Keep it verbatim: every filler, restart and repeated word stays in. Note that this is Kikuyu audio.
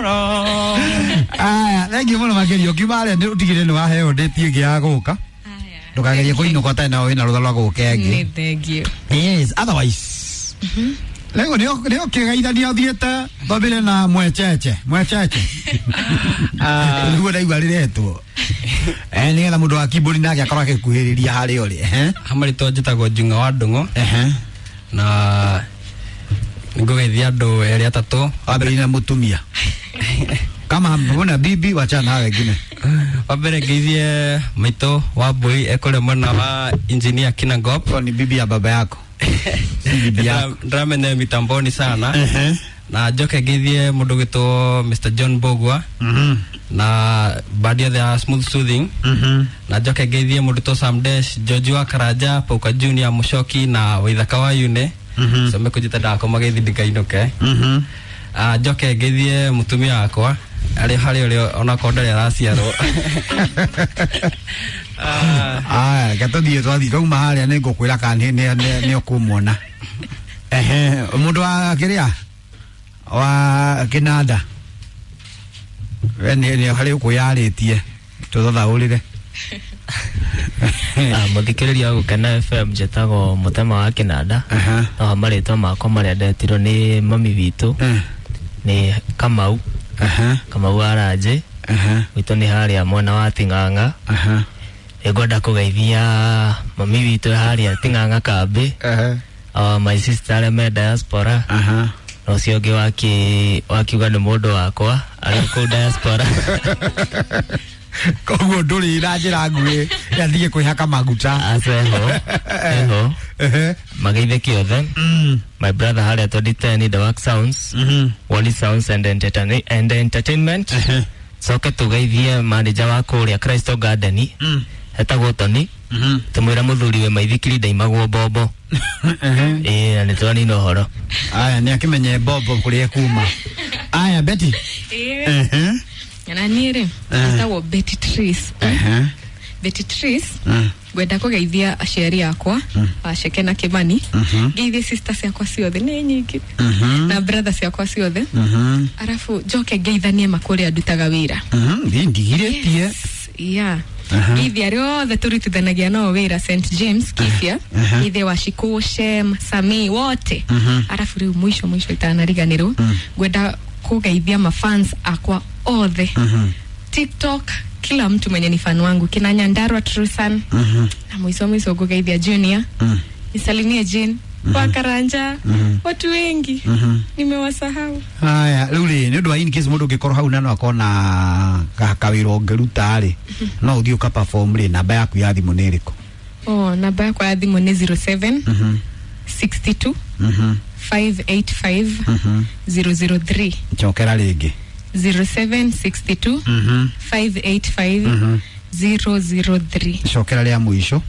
Tomorrow. Aya, thengiũ mũno makĩria. Ũkiuma harĩa nĩ ũtigĩrĩre nĩ waheo date ĩngĩ ya gũka, ndũkagerie kũinũka ũtarĩ na wĩna rũtha rwa gũka ĩngĩ. Nĩ thengiũ. Yes, otherwise rĩu nĩ ũkĩgeithania ũthiĩte twambĩre na mwecheche mwecheche nĩguo ndaigua rĩretwo, eh nĩgetha mũndũ wa keyboard nake akorwo akĩkuhĩrĩria harĩa ũrĩ, ehe. Hamarĩtwa njĩtagwo Njung'a wa Ndung'u ehe na nĩngũgeithia andũ erĩ atatũ. Wambĩrĩrie na mũtumia, kama mbona bibi, wachana na wengine. Wa mbere ngeithie maitũ wa mbũi ekũrĩa mwena wa engineer Kinangop. Huyo ni bibi ya baba yako, si bibi yako. Ndĩramenya mitamboni sana. Ehe na njoke ngeithie mũndũ gwĩtwo Mister John Bogwa mhm na bandi yothe ya Smooth Soothing. mhm Na njoke ngeithie mũndũ to Sam Dash, George wa Karanja, Pauka Junior, Mushoki na Waithaka wa Yune. Mhm. So mekũnjĩta ndakoma geithi ndikainũke. mhm Ah, njoke ngeithie mũtumia wakwa arĩ harĩa ũrĩa onakorwo ndarĩ araciarwo. Ah, Aya, reke tũthiĩ, twathiĩ twauma harĩa nĩ ngũkwĩra kana nĩ nĩ nĩ nĩ ũkũmuona. Ehe, mũndũ wa kĩrĩa wa kĩnanda, we nĩ nĩ harĩ ũkwĩyarĩtie tũthathaũrĩre. Ah, mũthikĩrĩria wa Gũkena F M, njĩtagwo Mũtema wa Kĩnanda. Aha. No marĩtwa makwa marĩa ndetirwo nĩ mami witũ Eh, nĩ Kamau. aha Kamau wa Ranjĩ. Aha gwitũ nĩ harĩa mwena wa Ting'ang'a. Aha nĩngwenda kũgeithia mami witũ harĩa Ting'ang'a kambĩ, aha uh, my sister arĩa me diaspora, aha na ũcio ũngĩ waki wakiuga nĩ mũndũ wakwa arĩ kũu diaspora. Koguo ndũrĩ na njĩra nguhĩ yathiĩ kwĩhaka maguta. Aca, eho eho. Ehe. Mageithĩke othe. Mm. My brother harĩa twenty ten, The Work Sounds, Mhm. Wally Sounds and, Entertain and Entertainment. Ehe. Coke tugeithie manager wa kũrĩa Crystal Garden, Mm. etagwo Tony. Mhm. Tũmwĩra mũthuri we maithikiri ndaimagwo mbombo. Ehe. Ĩĩ, na nĩ twanina ũhoro. Aya, nĩ akĩmenye mbombo kũrĩa kuma. Aya, Betty. Ehe. Na niĩ rĩ, Eh. njĩtagwo Betty Trace. Ehe. Betty Trace. Mm. Ngwenda kũgeithia aciari akwa, Waceke na Kimani. Mhm. Ngeithie sister ciakwa ciothe, nĩ nyingĩ, Mhm. na brother ciakwa ciothe. Mhm. Arabu njoke ngeithanie makũrĩa ndutaga wĩra. Mhm. Thiĩ ndigirĩtie. Yes, yeah. Aha. Ngeithie arĩa othe tũrutithanagia nao wĩra Saint James Kibia. Aha. Ngeithie Washikũ, Shem, Sami wote. Mhm. Arabu rĩu mũico mũico itanariganĩrwo, ngwenda kũgeithia mafans akwa othe Mhm. TikTok, kila mtu mwenye ni fan wangu, kina Nyandarua Trusan. Mhm. Na mwiso mwiso ngugeithia Junior. Mm. Nisalimie Jane wa Karanja. Mhm. Watu wengi Mhm. nimewasahau. Aya, rĩu rĩ, nĩ ũndũ wa in case mũndũ ũngĩkorwo hau na no akona ka- kawĩra ũngĩruta rĩ, no ũthiĩ ũka perform rĩ, namba yaku ya thimũ nĩ ĩrĩkũ? Oh, namba yakwa ya thimũ nĩ zero seven Mhm. sixty-two Mhm. five eight five Mhm. zero zero three. Cokera rĩngĩ. zero seven six two Mhm. five eight five Mhm. zero zero three. Cokera rĩa mũico.